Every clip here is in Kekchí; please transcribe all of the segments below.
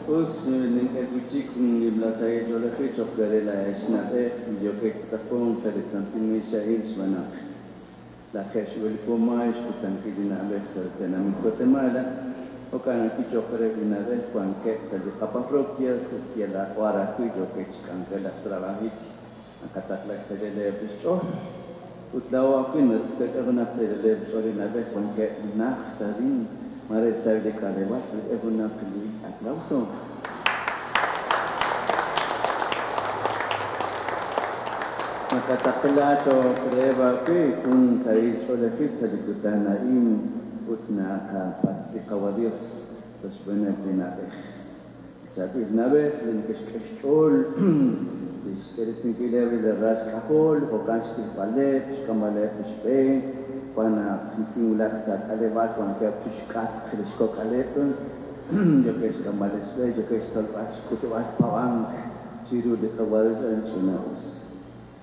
Us nink'e wi' chik jun nimla sahil ch'oolejil cho'q re laa'ex na'b'ej li yookeb' chi tz'aqonk sa' li santil miix a'in xb'aan naq lajeeb' xb'e li po maay xkutankil li na'b'ej sa' li tenamit Guatemala, jo'kan ajwi' cho'q reheb' li na'b'ej wankeb' sa' li qaparroquias ut yalaq b'ar ajwi' yookeb' chi k'anjelak trabajik naqataqla xsahileb' li xch'ool. Ut laa'o ajwi' naqak'e junaq xsahileb' xch'ool li na'b'ej wankeb' najt arin mare sa'eb' li k'aleb'aal qak'e junaq li aplauso. Naqataqla cho'q reheb' ajwi' jun sahil ch'oolejil sa' li kutan a'in ut naqapatz' li Qawa' Dios sa' xb'eeneb' li na'b'ej. Chaab'il na'b'ej li neke'xk'e xch'ool chi xk'iresinkileb' li ral xk'ajol, jo'kan xtijb'aleb', xk'amb'aleb' li xb'e, wan naq kinwulak sa' k'aleb'aal wankeb' chi xk'atq li xkok'aleb', yookeb' xk'amb'aleb' xb'e, yookeb' xtzolb'al xk'utb'al paab'ank chiru li Qawa' Dios a'in ch'ina'us.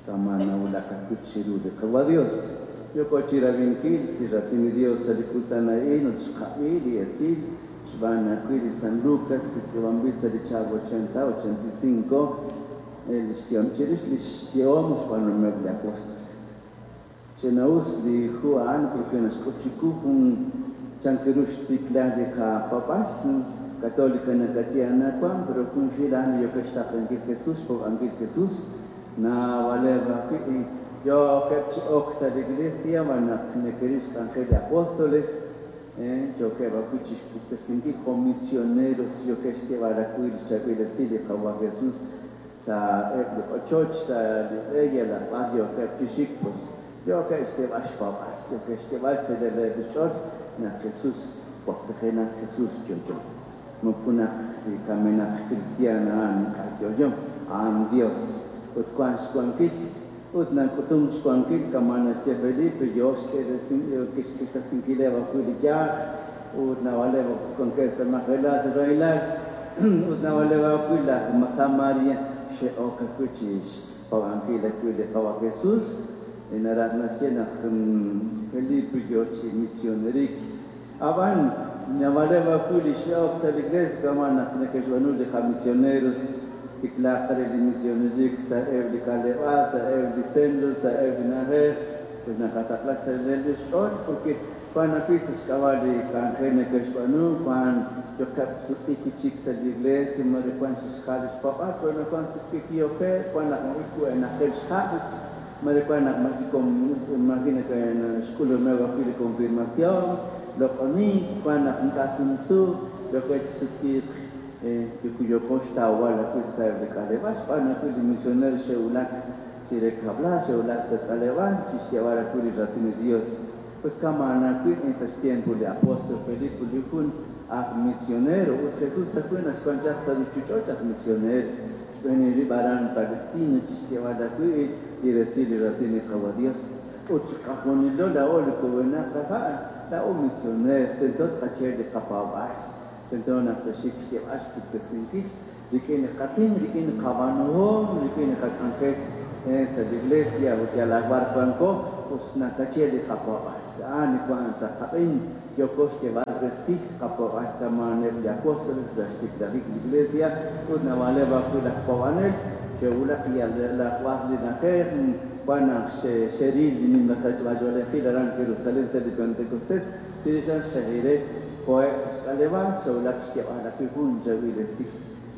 Kama' nawulak ajwi' chiru li Qawa' Dios. Yooko chi rab'inkil li Raatin li Dios sa' li kutan a'in ut xqab'i li esil xb'aan ajwi' li San Lucas li tz'iib'anb'il sa' li chihab' ochenta 85 li xyehom chirix li xyehom xb'aanuhomeb' li apóstoles. Ch'ina'us li hu a'an porque naxk'ut chiqu jun chan ru xtikla li qapaab'aal católica nakaye anaqwan pero junxil a'an li yookeb' xtaqenkil Jesús, xpaab'ankil Jesús, naab'aleb' ajwi' yookeb' chi ok sa' li iglesia xb'aan naq neke'ril xk'anjel li apóstoles, yookeb' ajwi' chi xpuktesinkil jo' misioneros yookeb' xyeeb'al ajwi' li xchaab'il esil li Qawa' Jesús sa'eb' li ochoch, sa' li b'e yalaq b'ar yookeb' chi xik, pues yookeb' xyeeb'al xpaab'aal, yookeb' xyeeb'al xsahileb' li xch'ool naq Jesús waklijenaq, Jesús yo'yo. Moko naq li kamenaq kristiaan a'an ink'a' yo'yo, a'an Dios ut wank xwankil ut nak'utunk xwankil kama' naxye Felipe yoo xk'irtasinkileb' ajwi' li yaj ut naab'aleb' wankeb' sa' majelal sa' rahilal ut naab'aleb' ajwi' laj Samaria xe'ok ajwi' chi xpaab'ankil ajwi' li Qawa' Jesús. Naraj naxye naq Felipe yoo chi misionerik. Ab'an naab'aleb' ajwi' li xe'ok sa' li iglesia kama' naq neke'xb'aanu li qamisioneros tiklaaq re li misionerik sa'eb' li k'aleb'aal, sa'eb' li centros, sa'eb' li na'ajej, pues naqataqla xsahileb' li xch'ool porque wan ajwi' sa' xk'ab'a' li k'anjel neke'xb'aanu, wan yookeb' sutq'iik wi' chik sa' li iglesia, mare wan xe'xjal li xpaab'aal, pero wan sutq'iik yookeb', wan naq maji' xha', mare wan naq maji' xk'ulumeb' ajwi' li confirmación, loq'onink, wan naq ink'a' sumsu, yookeb' chi sutq'iik yooko xtawb'al ajwi' sa'eb' li k'aleb'aal xb'aan ajwi' li misionero xe'wulak chire kab'lal, xe'wulak sa' k'aleb'aal chi xyeeb'al ajwi' li raatin li Dios. Pues kama' ajwi' sa' xtiempo li apóstol Felipe li jun aj misionero ut Jesús ajwi' naxwan chaq sa' ruchich'och' aj misionero xb'een rib' aran Palestina chi xyeeb'al ajwi' li resil li raatin li Qawa' Dios. Ut chiqajunilo laa'o li kub'enaq qaha' laa'o misioner tento tqache li qapaab'aal, tento naq toxik xyeeb'al xpuktesinkil rik'in li qatin, rik'in li qab'aanuhom, rik'in li qak'anjel sa' li iglesia ut yalaq b'ar wanko, us nakache li qapaab'aal. A'an li wan sa' qab'een yooko xyeeb'al resil qapaab'aal kama' eb' li apóstoles sa' xtiklajik li iglesia ut naab'aleb' ajwi' laj paab'anel xe'wulak yalaq b'ar li na'ajej, wan naq xe'ril li nimla sachb'ach'oolejil aran Jerusalén sa' li Pentecostés, chirix a'an xe'hire koheb' sa' xk'aleb'aal, xe'wulak xyeeb'al ajwi' jun chaab'il esil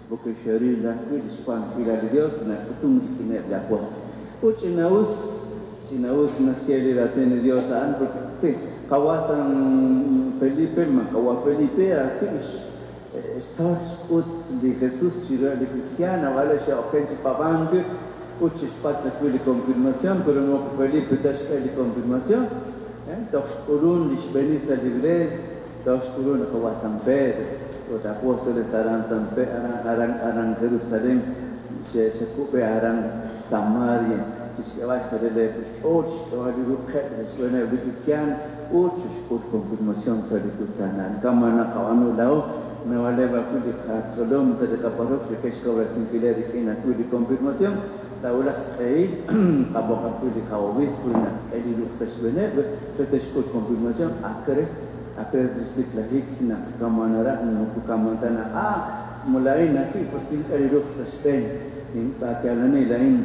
porque xe'ril ajwi' li xwankilal li Dios nak'utunk rik'ineb' li apóstol. Ut ch'ina'us, ch'ina'us naxye li raatin li Dios a'an porque sí, Qawa' San Felipe, ma Qawa' Felipe ajwi' xtzol xk'ut li Jesús chiruheb' li cristiano, naab'aleb' xe'oken chi paab'ank ut xe'xpatz' ajwi' li confirmación, pero moko Felipe ta xk'e li confirmación, toj xk'ulun li xb'eenil sa' li iglesia, toj xk'ulun Qawa' San Pedro, ut apóstoles aran San aran aran aran Jerusalén, xe'kub'e aran Samaria, chi xk'eb'al xsahileb' xch'ool, xk'eb'al li ruqeb' sa' xb'eeneb' li cristiano ut xe'xk'ul confirmación sa' li kutan a'an. Kama' naqab'aanu laa'o, naab'aleb' ajwi' li qatzolom sa' li qaparroquia ke'xkawresinkileb' rik'in ajwi' li confirmación, taawulaq xq'ehil qab'oq ajwi' li qa-obispo naq k'e li ruq' sa' xb'eeneb' re te'xk'ul confirmación akre akre sa' xtiklajik naq kama' naraj moko kama' ta naq Laa'in ajwi', pues tink'e li ruq' sa' xb'een. Tinb'aatialani laa'in,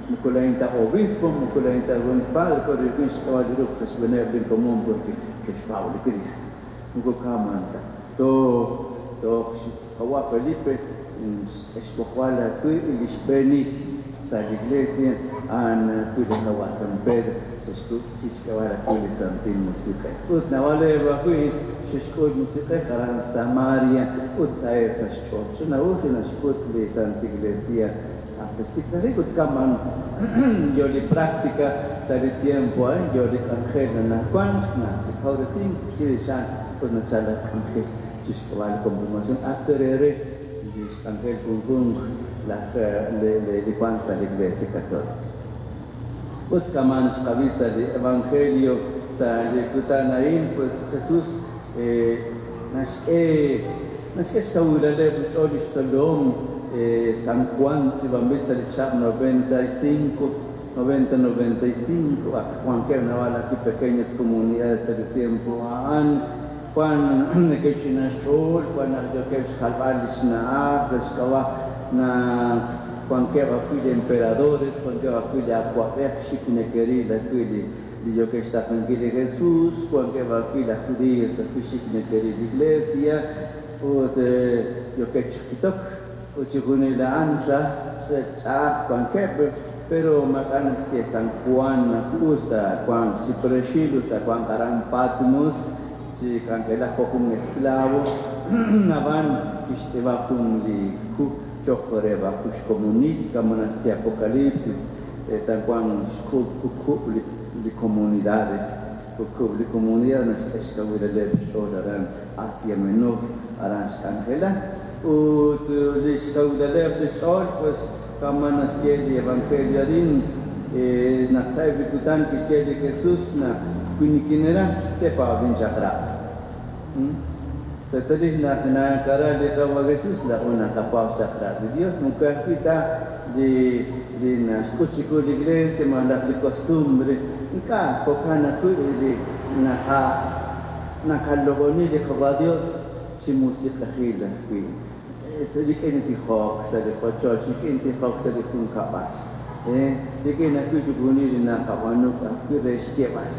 moko laa'in ta obispo, moko laa'in ta jun padre, pero rik'in xk'eb'al li ruq' sa' xb'eeneb' linkomon porque xe'xpaab' li Cristo. Moko kaman ta. Toj, toj qawa' Felipe xb'oqb'al ajwi' li xb'eenil sa' li iglesia, a'an ajwi' li qawa' San Pedro, xe'xk'eb'al ajwi' li Santil Musiq'ej. Ut naab'aleb' ajwi' xe'xk'ul Musiq'ej aran Samaria ut saheb' sa' xch'ool. Ch'ina'us li naxk'ut li Santa Iglesia sa' xtiklajik ut kaman yo li práctica sa' li tiempo a'in, yo li k'anjel anaqwan naq li kawresink chirix a'an ut nachal laj k'anjel chixk'eb'al li confirmación acto re li xk'anjel junjunq laj li wank sa' li Iglesia Católica. Ut kaman xqab'i sa' li Evangelio sa' li kutan a'in, pues Jesús naxk'e xkawilaleb' xch'ool li xtzolom. San Juan tz'iib'anb'il sa' li chihab' 95, 90, 95, wankeb' naab'al ajwi' pequeñas comunidades sa' li tiempo a'an. Wan neke'ch'ina xch'ool, wan naq yookeb' xjalb'al li xna'aj sa' xk'ab'a' naq wankeb' ajwi' li emperadores, wankeb' ajwi' li awa'b'ej xik neke'ril ajwi' li yookeb' xtaqenkil li Jesús, wankeb' ajwi' laj judíos ajwi' xik neke'ril li iglesia ut yookeb' chi jitok ut chixjunil a'an ch'a'aj wankeb', pero maak'a' naxye San Juan us ta wank chi preexil, us ta wank aran Patmos chi k'anjelak jo' jun esclavo, ab'an kixtz'iib'a jun li hu cho'q reheb' ajwi' xkomonil, kama naxye Apocalipsis. San Juan xk'uub' kukub' li comunidades, kukub' li comunidad naxk'e xkawilaleb' xch'ool aran Asia Menor, aran xk'anjela. Ut li xkawilaleb' li xch'ool, pues kama naxye li Evangelio arin, naq sa'eb' li kutan kixye li Jesús naq wi nikinera tepaab' linchaq'rab'. Reetalil naq nakara li Qawa' Jesús laa'o naqapaab' xchaq'rab' li Dios, moko ajwi' ta li naxk'ut chiqu li iglesia malaj li costumbre, ink'a' jo'kan ajwi' li naqaloq'oni li Qawa' Dios chi musiq'ejil ajwi'. Rik'in li tijok sa' li qochoch, rik'in tijok sa' li junkab'al, rik'in ajwi' chixjunil li naqab'aanu ajwi' re xyeeb'al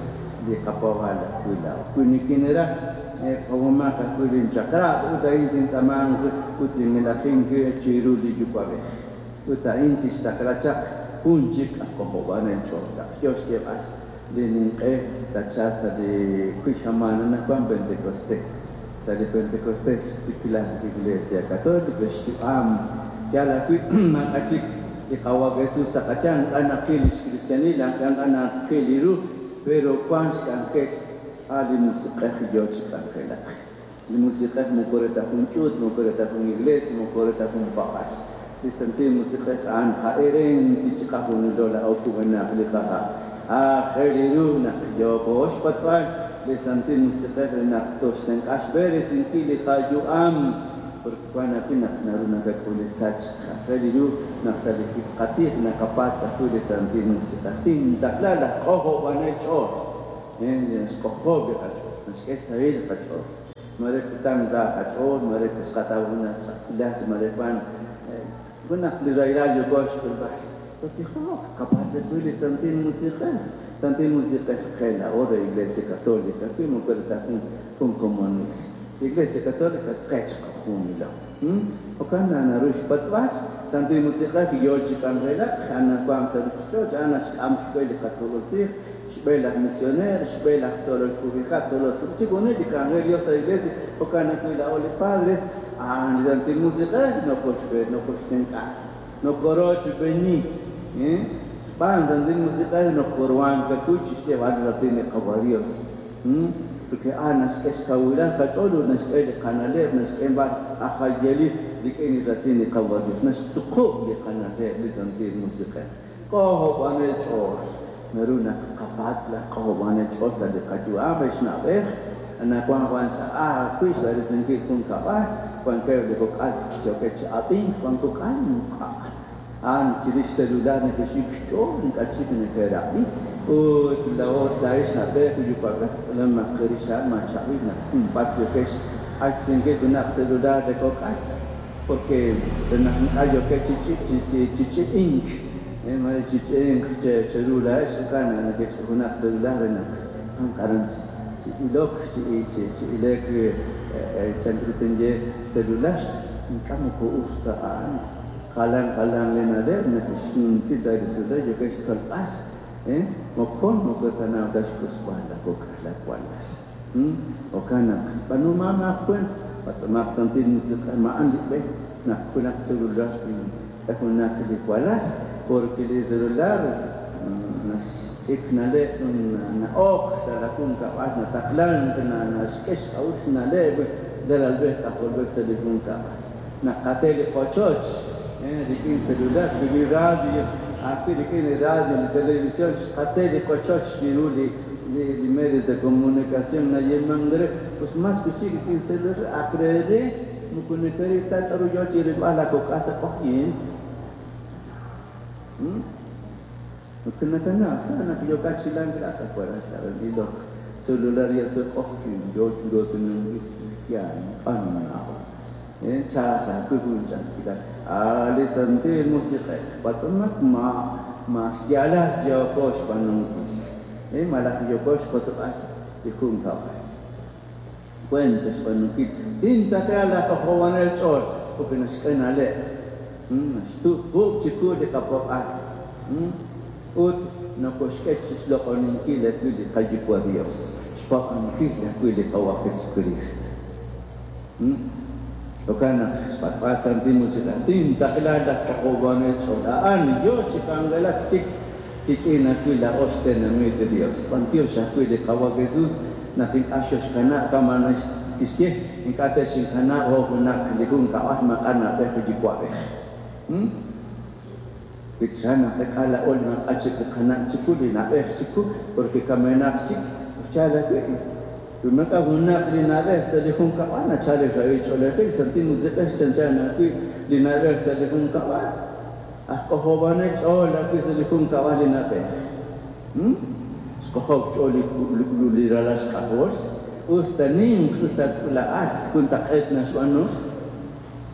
li qapaab'aal ajwi' laa'o. Wi nikinera paab'omaq ajwi' linchaq'rab' ut a'in tintz'aamanq ut tin'elajink chiru li Yuwa'b'ej. Ut a'in tixtaqla chaq jun chik aj k'ojob'anel ch'ool. Yo xyeeb'al li ninq'e tachalq sa' li wi xamaan anaqwan Pentecostés. Sa' li Pentecostés xtikla li Iglesia Católica xyu'am yal ajwi' maak'a' chik li Qawa' Jesús sa' qayanq, ink'a' naqil li xkristianil, ink'a' naqil li ru, pero wank xk'anjel a' li Musiq'ej yo chi k'anjelak. Li Musiq'ej moko re ta jun ch'uut, moko re ta jun iglesia, moko re ta jun paab'al. Li Santil Musiq'ej a'an qa'erensi chiqajunilo laa'o kub'enaq li qaha'. Aajel ru naq yooko xpatz'b'al li Santil Musiq'ej re naq toxtenq'a xb'eresinkil li qayu'am, porque wan ajwi' naq naru nakak'ul li sachk. Aajel ru naq sa' li qatij naqapatz' ajwi' li Santil Musiq'ej. Tintaqla laj k'ojob'anel ch'ool, li naxk'ojob' li qach'ool, naxk'e xsahil li qach'ool. Mare kutan ra qach'ool, mare xqataw junaq ch'a'ajkilal, mare wan junaq li rahilal yooko xk'ulb'al. Totijok, qapatz' ajwi' li Santil Musiq'ej. Santil Musiq'ej qe laa'o re Iglesia Católica, ajwi' moko re ta jun komonil. Iglesia Católica qe chiqajunilo. Jo'kan naq naru xpatz'b'al Santil Musiq'ej yo chi k'anjelak, anaqwan sa' ruuchich'och', a'an naxk'am xb'e li qatzolol tij, xb'e laj misioner, xb'e laj tzolol kub'iha', tzolol chixjunil li k'anjel Dios sa' iglesia, jo'kan ajwi' laa'o li padres, a'an li Santil Musiq'ej nokoxb'e, nokoxtenq'a, nokorochb'eni, xb'aan Santil Musiq'ej nokoruhank ajwi' chi xyeeb'al li raatin li Qawa' Dios. Porque a'an naxk'e xkawilal qach'ool ut naxk'e li qana'leb', naxk'e b'ar ajayeli rik'in li raatin li Qawa' Dios, naxtuqub' li qana'leb' li Santil Musiq'ej. K'ojob'anel ch'ool. Naru naq qapatz' laj k'ojob'anel ch'ool sa' li qayu'am re xna'b'ej, anaqwan wan ch'a'aj ajwi' xb'eresinkil jun kab'al, wankeb' li kok'al yookeb' chi ab'ink, wan kok'al ink'a'. A'an chirix celular neke'xik xch'ool, ink'a' chik neke'rab'i. Ut laa'o laa'ex na'b'ej yuwa'b'ej tz'alamaq rix a'an ma chab'il naq junpaat yookex q'axtesinkil junaq celular re kok'al. Porque re naq ink'a' yookeb' chi chi chi ch'i'ink, mare chi ch'i'ink cheru laa'ex jo'kan naq nekech'ik junaq celular re naq wanq aran chi ilok, chi ilek chan ru tinye celular, ink'a' moko us ta a'an. Jalan jalan li na'leb' neke'xnumsi sa' li celular yookeb' xtzolb'al, moqon moko tanaw ta xk'usb'al laakok'al laawalal. Jo'kan naq b'aanumaq kuent, patz'omaq Santil Musiq'ej ma a'an li b'e naq junaq celular tink'e junaq li walal, porque li celular naxch'ik na'leb' na'ok sa' laajunkab'al, nataqlank, naxk'e xk'a'uxl na'leb' ralalb'ej k'ajolb'ej sa' li junkab'al. Naqate li qochoch rik'in celular, li radio, ajwi' rik'in li radio, li televisión, xqate li qochoch chiru li medios de comunicación nayeemank re, pues más wi' chik rik'in celular ak re re moko nekeril ta k'aru yo chi rilb'al laakok'al sa' q'oqyink. Moko nakanaw sa' naq yookat chi lank laa'at awaral aran ilok celular yal sa' q'oqyink yo chi rootinunkil kristiaan q'an na'ajok. Chaal ajwi' jun ch'a'ajkilal. A' li Santil Musiq'ej patz'omaq ma ma xyaalal yooko xb'aanunkil malaj yooko xkotb'al li junkab'al. Weent xb'aanunkil. Tintaqla laj k'ojob'anel ch'ool porque naxk'e na'leb', naxtuqub' chiqu li qapob'al ut nokoxk'e chi xloq'oninkil ajwi' li qaYuwa' Dios, xpaab'ankil ajwi' li Qawa' Jesucristo. Jo'kan naq xpatz'b'al Santil Musiq'ej, tintaqla laj k'ojob'anel ch'ool. A'an yo chi k'anjelak chik qik'in ajwi' laa'o xtenamit li Dios. B'antiox ajwi' li Qawa' Jesus naq ink'a' xoxkanab' kama' kixye, ink'a' texinkanab' jo' junaq li junkab'al maak'a' na'b'ej yuwa'b'ej. Wi chan naqak'a laa'o li maak'a' chik li qana' chiqu, li na'b'ej chiqu, porque kamenaq chik, yaal ajwi'. Wi maak'a' junaq li na'b'ej sa' li junkab'al, nachalk li rahil ch'oolejil, Santil Musiq'ej chanchan ajwi' li na'b'ej sa' li junkab'al. Aj k'ojob'anel ch'ool ajwi' sa' li junkab'al li na'b'ej. Xk'ojob' xch'ool li ralal xk'ajol, us ta ninq, us ta k'uula'al, juntaq'eet naxb'aanu.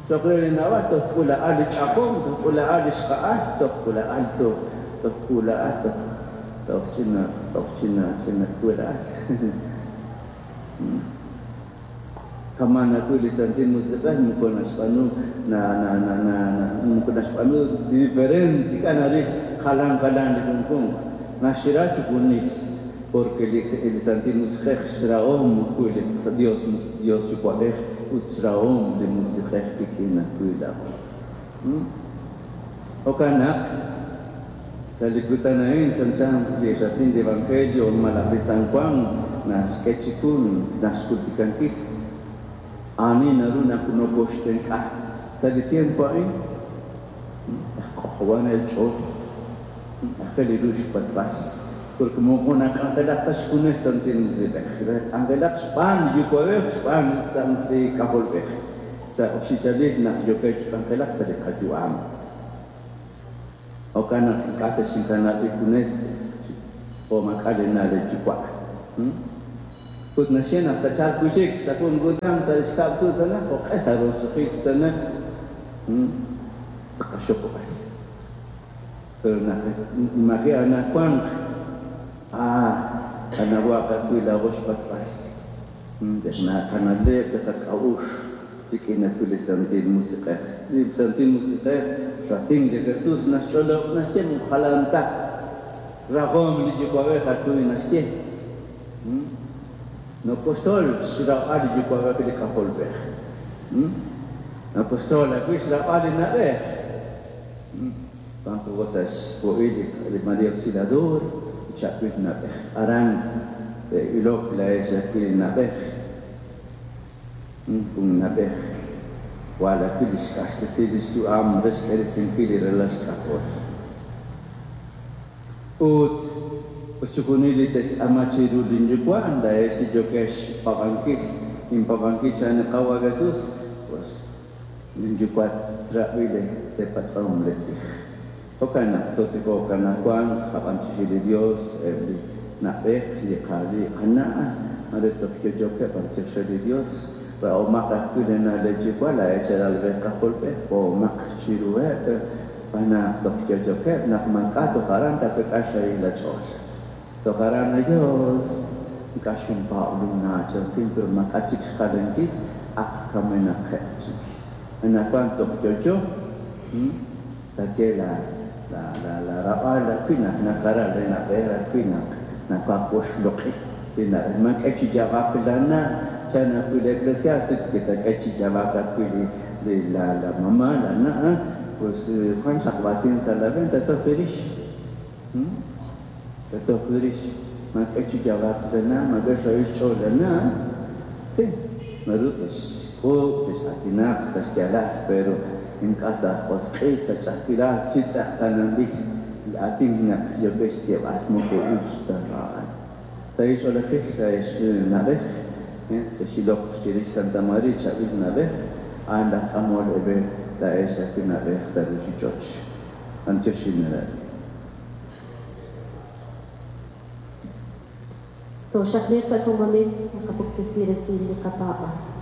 Cho'q re li na'b'al toj k'uula'al li ch'ajom, toj k'uula'al li xqa'al, toj k'uula'al toj toj k'uula'al toj toj ch'ina toj ch'ina ch'ina k'uula'al. Kama'an ajwi' li Santil Musiq'ej moko naxb'aanu na na na na moko naxb'aanu diferencia, ink'a' naril jalan jalan li junjunq, naxra chixjunil porque li li Santil Musiq'ej xrahom ajwi' li Dios Dios Yuwa'b'ej ut xrahom li Musiq'ej qik'in ajwi' laa'o. Jo'kan naq sa' li kutan a'in chanchan li raatin li Evangelio malaj li San Juan naxk'e chiqu naxjultikankil ani naru naq nokoxtenq'a sa' li tiempo a'in, laj k'ojob'anel ch'ool aajel ru xpatz'b'al, porque moko nak'anjelak ta xjunes Santil Musiq'ej, nak'anjelak xb'aan li Yuwa'b'ej, xb'aan li K'ajolb'ej sa' oxichalil naq yookeb' chi k'anjelak sa' li qayu'am. Jo'kan naq ink'a' texinkanab' injunes jo' maak'a' li na' li yuwa'. Ut naxye naq tachalq wi' chik sa' jun kutan sa' li xkab' sut tana, jo'q'e sa' roso'jik tana tqaxokb'al. Pero naq maji' anajwanq, qanawaq ajwi' laa'o xpatz'b'al li qana'leb', li qak'a'uxl rik'in ajwi' li Santil Musiq'ej. Li Santil Musiq'ej raatin li Jesus naxch'olob' naxye moko jalan ta rajom li Yuwa'b'ej ajwi' naxye. Nokoxtzol xraab'al li Yuwa'b'ej li K'ajolb'ej. Nokoxtzol ajwi' xraab'al li na'b'ej. Wanko sa' xpo'il li Maria Auxiliadora, li chaab'il na'b'ej. Aran ilok laa'ex ajwi' li na'b'ej. Jun na'b'ej jwal ajwi' li xq'axtesi li xyu'am re xk'iresinkil li ralal xk'ajol. Ut chixjunil li te'xtz'aama chiru linyuwa', laa'ex li yookex xpaab'ankil, inpaab'ankil chan li Qaawa' Jesus, pues linyuwa' trab'i leepatz'om leetij. Jo'kan naq tootijoq anaqwan, tqab'antioxi li Dios, eb' li na'b'ej, li qana', mare toj yo'yookeb' b'antiox re li Dios. Rahomaq ajwi' li na' leeyuwa' laa'ex alalb'ej k'ajolb'ej, b'ohomaq chiruheb' xb'aan naq toj yo'yokeb', naq maak'a' toj aran taawek'a xsahil laach'ool. Toj aran a Dios, ink'a' xinpaab' linna' chankin, pero maak'a' chik xjalankil, ak kamenaqeb' chik. Anaqwan toj yo'yo, taye la la la la rab'al ajwi' naq nakara le na'b'ej ajwi' naq nakawoxloq'i li na'b'ej. Maak'e chi yaab'ak lana', chan ajwi' li Eclesiástico kitak'e chi yaab'ak ajwi' li li la la mamá la na', pues wan chaq waatin sa' la venta toj rix. Toj rix. Maak'e chi yaab'ak lana', maak'e xsahil xch'ool lana'. Sí, naru texk'uub', tex'aatinaq sa' xyaalal, pero ink'a' sa' josq'il, sa' ch'a'ajkilal, chi tz'eqtaananb'il li aatin naq yookeb' xyeeb'al moko us ta a'an. Sahil ch'oolejil laa'ex na'b'ej, chex'iloq chirix Santa María chaab'il na'b'ej, a'an laj k'amol eeb'e laa'ex ajwi' na'b'ej sa' ruuchich'och. B'antioxin naraj. Tooxaqliiq sa' komonil naqapuktesi resil li qapaab'aal.